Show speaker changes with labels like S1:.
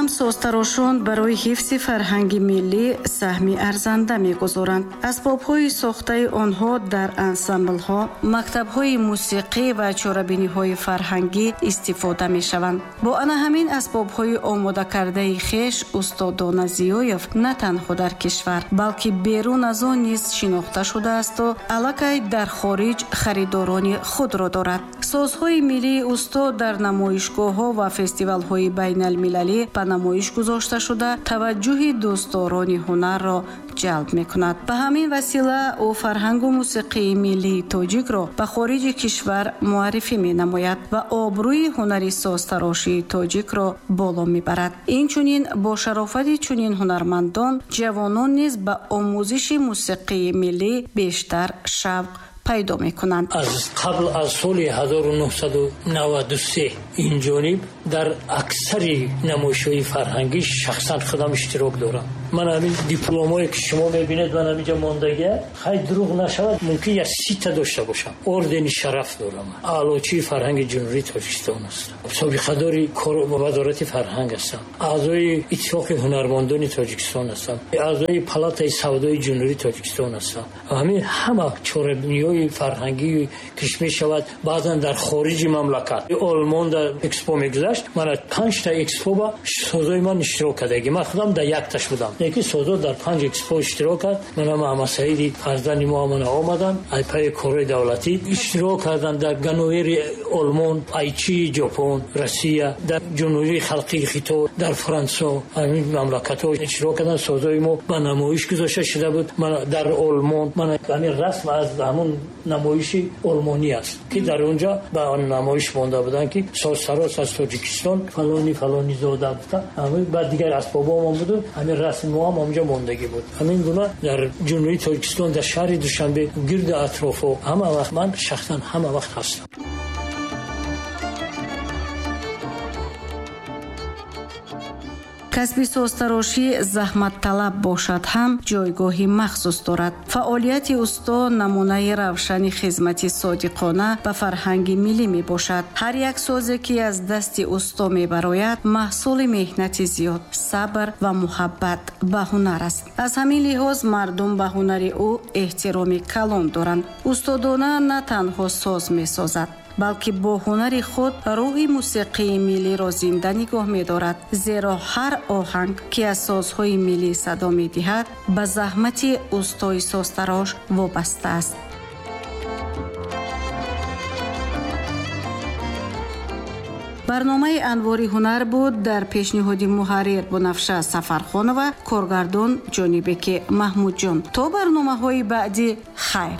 S1: ҳам созтарошон барои ҳифзи фарҳанги миллӣ саҳми арзанда мегузоранд. Асбобҳои сохтаи онҳо дар ансамблҳо, мактабҳои мусиқӣ ва чорабиниҳои фарҳангӣ истифода мешаванд. Бо ана ҳамин асбобҳои омодакардаи хеш устод Дона Зиёев на танҳо дар кишвар, балки берун аз он низ шинохта шудаасту аллакай дар хориҷ харидорони худро дорад. Созҳои миллии устод дар намоишгоҳҳо ва фестивалҳои байналмилалӣ ба намоиш гузошта шуда, таваҷҷӯҳи дӯстдорони ҳунарро ҷалб мекунад. Ба ҳамин васила ӯ фарҳангу мусиқии миллии тоҷикро ба хориҷи кишвар муаррифӣ менамояд ва обрӯи ҳунари созтарошии тоҷикро боло мебарад. Инчунин бо шарофати чунин ҳунармандон ҷавонон низ ба омӯзиши мусиқии миллӣ бештар шавқ пайдо мекунанд.
S2: Аз қабл аз соли 1993 инҷониб дар аксари намоишҳои фарҳангӣ шахсан худам иштирок дорам. Ман ҳамин дипломое ки шумо мебинед, ман ҳаминҷа мондагия, хай дурӯғ нашавад, мумкин як 30-та дошта бошам. Ордени шараф дорам, аълочии фарҳанги Ҷумҳурии Тоҷикистон ҳастам, собиқадори Вазорати фарҳанг ҳастам, аъзои Иттифоқи ҳунармандони Тоҷикистон ҳастам, аъзои Палатаи савдои Ҷумҳурии Тоҷикистон ҳастам. Ҳамин ҳама чорабиниҳои фарҳангӣ киш мешавад, баъзан дар хориҷи мамлакат. Олмон дар экспо мегузашт, ман 5-та экспо ба созои ман иштирок кардагӣ. Ман худам дар якташ будам, лекин созо дар 5 экспо иштирок кард. Манам Аҳмадсаиди фарзанди мо ҳамана омаданд, ай пайи корҳои давлатӣ иштирок карданд дар Ганновери Олмон, Айчии Ҷопон, Россия, дар Ҷумҳурии Халқии Хитой, дар Франсо, ҳамин мамлакатҳо иштирок карданд. Созои мо ба намоиш гузошта шуда буд. Ман дар Олмон, ман ҳамин расм аз ҳамон намоиши олмонӣ аст, ки дар онҷо ба намоиш монда буданд, ки созтарош аз Тоҷикистон фалони фалони зода гуфта, баъд дигар асбобҳоамон буду ҳамин расми мо ҳам онҷо мондагӣ буд. Ҳамин гуна дар Ҷумҳурии Тоҷикистон, дар шаҳри Душанбе, гирду атрофҳо ҳама вақт ман шахсан ҳама вақт ҳастам.
S1: Касби созтарошӣ заҳматталаб бошад ҳам ҷойгоҳи махсус дорад. Фаъолияти усто намунаи равшани хизмати содиқона ба фарҳанги миллӣ мебошад. Ҳар як созе, ки аз дасти усто мебарояд, маҳсули меҳнати зиёд, сабр ва муҳаббат ба ҳунар аст. Аз ҳамин лиҳоз мардум ба ҳунари ӯ эҳтироми калон доранд. Устодона на танҳо соз месозад, балки бо ҳунари худ рӯҳи мусиқии миллиро зинда нигоҳ медорад, зеро ҳар оҳанг, ки аз созҳои миллӣ садо медиҳад, ба заҳмати устои созтарош вобаста аст. Барномаи Анвори ҳунар буд дар пешниҳоди муҳаррир Бунафша Сафархонова, коргардон Ҷонибеки Маҳмудҷон. То барномаҳои баъдӣ хайр.